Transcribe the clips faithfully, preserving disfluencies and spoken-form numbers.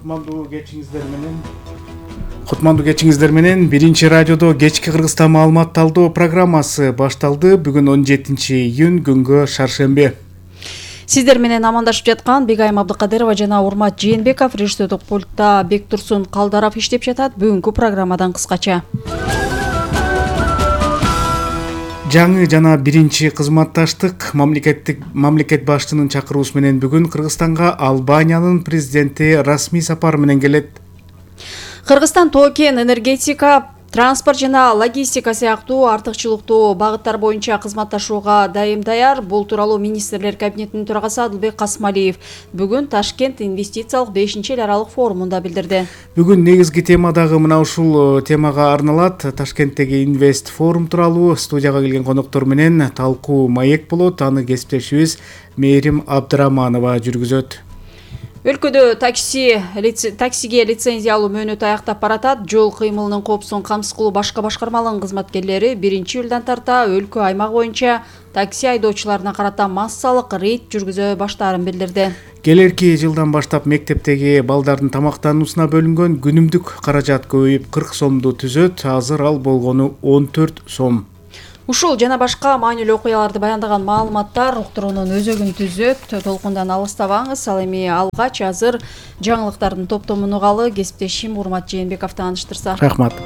Кутмандуу кечиңиздер менен Кутмандуу кечиңиздер менен биринчи радиодо кечки Кыргызстан маалымат талдоо программасы башталды. Бүгүн он жетинчи июнь, күнгө шаршемби. Сиздер менен амандашып жаткан Бегайым Абдыкадырова жана Урмат Жээнбеков, режиссердик пультта Бектурсун Калдаров иштеп жатат. Бүгүнкү программадан кыскача. Жаңы жана биринчи кызматташтык мамлекеттик мамлекет башчынын чакыруусу менен бүгүн Кыргызстанга Албаниянын президенти расмий сапар менен келет. Кыргызстан тоо кен, энергетика, транспорт жана логистика сыяктуу артыкчылыктуу багыттар боюнча кызматташууга дайым даяр. Бул тууралуу министрлер кабинетинин төрагасы Адылбек Касымалиев бүгүн Ташкент инвестициялык бешинчи эл аралык форумунда билдирди. Бүгүн негизги тема дагы мына ушул темага арналат. Ташкенттеги инвест форум тууралуу студияга келген коноктор менен талкуу маек болот. Аны кесиптешибиз Мээрим Абдыраманова жүргүзөт. Өлкөдө такси лице, таксиге лицензия алуу мөөнөтү аяктап баратат. Жол кыймылынын коопсуздугун камсыз кылуу башка башкармалыгынын кызматкерлери биринчи июлдан тарта өлкө аймак боюнча такси айдоочуларына карата массалык рейд жүргүзө баштаарын билдирди. Келерки жылдан баштап мектептеги балдардын тамактануусуна бөлүнгөн күнүмдүк каражат көбөйүп кырк сомду түзөт. Азыр ал болгону он төрт сом. Ушул жана башка маанилүү окуяларды баяндаган маалыматтар уктуруунун өзөгүн түзөт. Толкундан алыстабаңыз. Ал эми алгач азыр жаңылыктардын топтомун угалы. Кесиптешим Урмат Жээнбеков тааныштырса. Рахмат.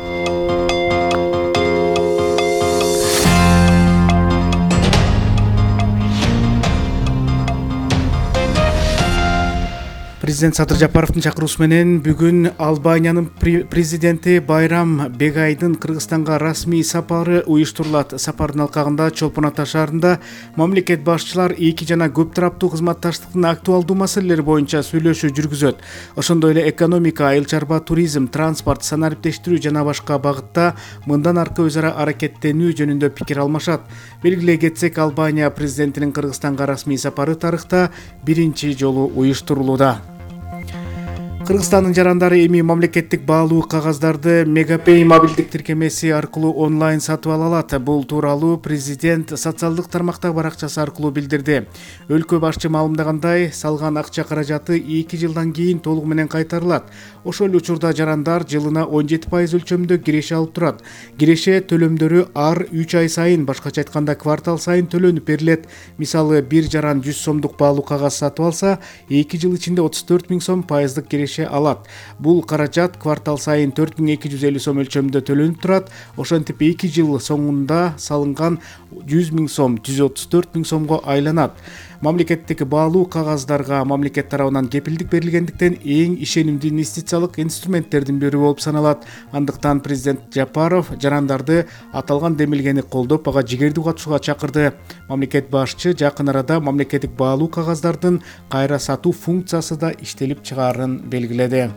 Президент Садыр Жапаровдун чакыруусу менен бүгүн Албаниянын президенти Байрам Бегайдын Кыргызстанга расмий сапары уюштурулат. Сапардын алкагында Чолпон Ата шаарында мамлекет башчылар эки жана көп тараптуу кызматташтыктын актуалдуу маселелери боюнча сүйлөшүү жүргүзөт. Ошондой эле экономика, айыл чарба, туризм, транспорт, санариптештирүү жана башка багытта мындан аркы өз ара аракеттенүү жөнүндө пикир алмашат. Белгилей кетсек, Албания президентинин Кыргызстанга расмий сапары тарыхта биринчи жолу уюштурулууда. Кыргызстандын жарандары эми мамлекеттик баалуу кагаздарды Мегапей мобилдик тиркемеси аркылуу онлайн сатып ала алат. Бул тууралуу президент социалдык тармактагы баракчасы аркылуу билдирди. Өлкө башчы маалымдагандай, салган акча каражаты эки жылдан кийин толугу менен кайтарылат. Ошол эле учурда жарандар жылына он жети пайыз өлчөмдө киреше алып турат. Киреше төлөмдөрү ар үч ай сайын, башкача айтканда квартал сайын төлөнүп берилет. Мисалы, бир жаран жүз сомдук баалуу кагаз сатып алса, эки жыл ичинде отуз төрт миң сом пайыздык киреше алат. Бул каражат квартал сайын төрт миң эки жүз элүү сом өлчөмдө төлөнүп турат. Ошентип эки жыл соңунда салынган жүз миң сом жүз отуз төрт миң сомго айланат. Мамлекеттик баалуу кагаздарга мамлекет тарабынан кепилдик берилгендиктен эң ишенимдүү инвестициялык инструменттердин бири болуп саналат. Андыктан президент Жапаров жарандарды аталган демилгени колдоп, ага жигердүү катышууга чакырды. Мамлекет башчы жакын арада мамлекеттик баалуу кагаздардын кайра сатуу функциясы да иштелип чыгаарын белгиледи.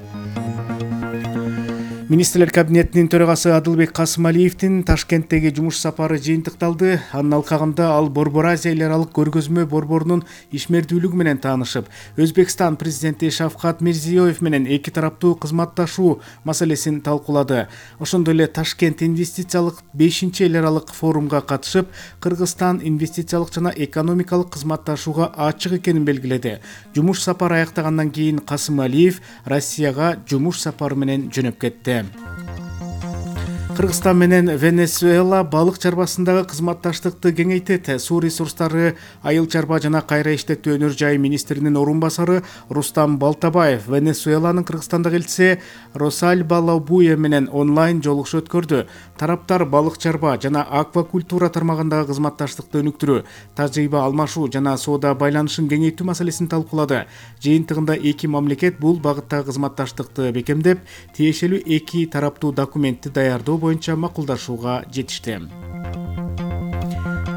Министрлер кабинетинин төрагасы Адылбек Касымалиевдин Ташкенттеги жумуш сапары жыйынтыкталды. Анын алкагында ал Борбор Азия эл аралык көргөзмө борборунун ишмердүүлүгү менен таанышып, Өзбекстан президенти Шавкат Мирзиёев менен эки тараптуу кызматташуу маселесин талкуулады. Ошондой эле Ташкент инвестициялык бешинчи эл аралык форумга катышып, Кыргызстан инвестициялык жана экономикалык кызматташууга ачык экенин белгиледи. Жумуш сапары аяктагандан кийин Касымалиев Россияга жумуш сапары менен жөнөп кетти. Кыргызстан менен Венесуэла балык чарбасындагы кызматташтыкты кеңейтет. Суу ресурстары, айыл чарба жана кайра иштетүү өнөр жайы министринин орун басары Рустам Балтабаев Венесуэланын Кыргызстандагы элчиси Росальба Лобуя менен онлайн жолугушуу өткөрдү. Тараптар балык чарба жана аквакультура тармагындагы кызматташтыкты өнүктүрүү, тажрыйба алмашуу жана соода байланышын кеңейтүү маселесин талкуулады. Жыйынтыгында эки мамлекет бул багыттагы кызматташтыкты бекемдеп, тиешелүү эки тараптуу документти даярдоо боюнча макулдашууга жетишти.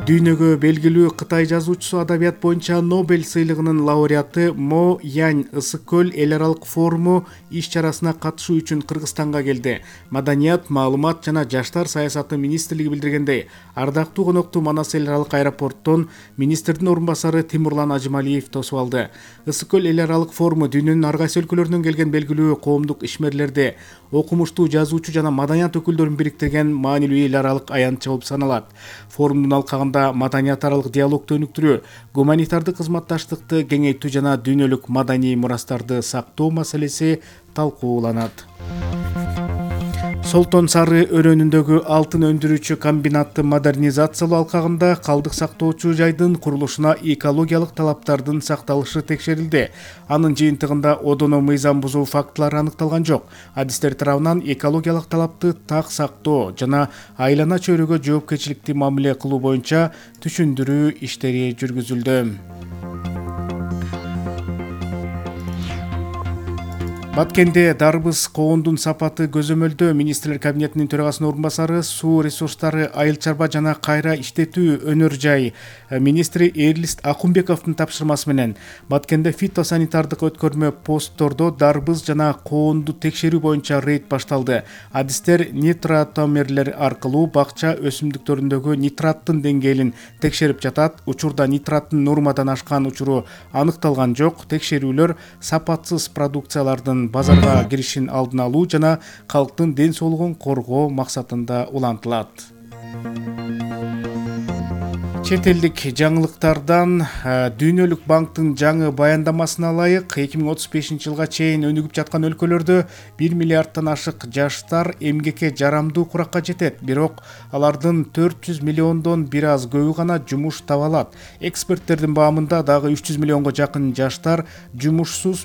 Дүйнөгө белгилүү Кытай жазуучусу адабият боюнча Нобель сыйлыгынын лауреаты Мо Янь Ысык көл эл аралык форуму иш-чарасына катышуу үчүн Кыргызстанга келди. Маданият, маалымат жана жаштар саясаты министрлиги билдиргендей, ардактуу конокту Манас эл аралык аэропорттон министрдин орун басары Тимурлан Ажымалиев тосуп алды. Ысык көл эл аралык форуму дүйнөнүн ар кайсы өлкөлөрүнөн келген белгилүү коомдук ишмерлерди, окумуштуу жазуучу жана маданият өкүлдөрүн бириктирген маанилүү эл аралык аянтча болуп саналат. Форумдун алкагында маданият аралык диалогду өнүктүрүү, гуманитардык кызматташтыкты кеңейтүү жана дүйнөлүк маданий мурастарды сактоо маселеси талкууланат. Солтон Сары өрөөнүндөгү алтын өндүрүүчү комбинатты модернизациялоо алкагында калдык сактоочу жайдын курулушуна экологиялык талаптардын сакталышы текшерилди. Анын жыйынтыгында одоно мыйзам бузуу фактылары аныкталган жок. Адистер тарабынан экологиялык талапты так сактоо жана айлана чөйрөгө жоопкерчиликтүү мамиле кылуу боюнча түшүндүрүү иштери жүргүзүлдү. Баткенде дарбыз коондун сапаты көзөмөлдө. Министрлер кабинетинин төрагасынын орун басары, суу ресурстары, айыл чарба жана кайра иштетүү өнөр жай министри Эрлист Акунбековдун тапшырмасы менен Баткенде фитосанитардык өткөрмө посттордо дарбыз жана коонду текшерүү боюнча рейд башталды. Адистер нитратомерлер аркылуу бакча өсүмдүктөрүндөгү нитраттын деңгээлин текшерип жатат. Учурда нитраттын нормадан ашкан учуру аныкталган жок. Текшерүүлөр сапатсыз продукциялардын базарга киришин алдын алуу жана калктын ден соолугун коргоо максатында улантылат. Чет элдик жаңылыктардан Дүйнөлүк банктын жаңы баяндамасына ылайык эки миң отуз бешинчи жылга чейин өнүгүп жаткан өлкөлөрдө бир миллиардтан ашык жаштар эмгекке жарамдуу куракка жетет, бирок алардын төрт жүз миллиондон бир аз көбү гана жумуш таба алат. Эксперттердин баамында дагы үч жүз миллионго жакын жаштар жумушсуз,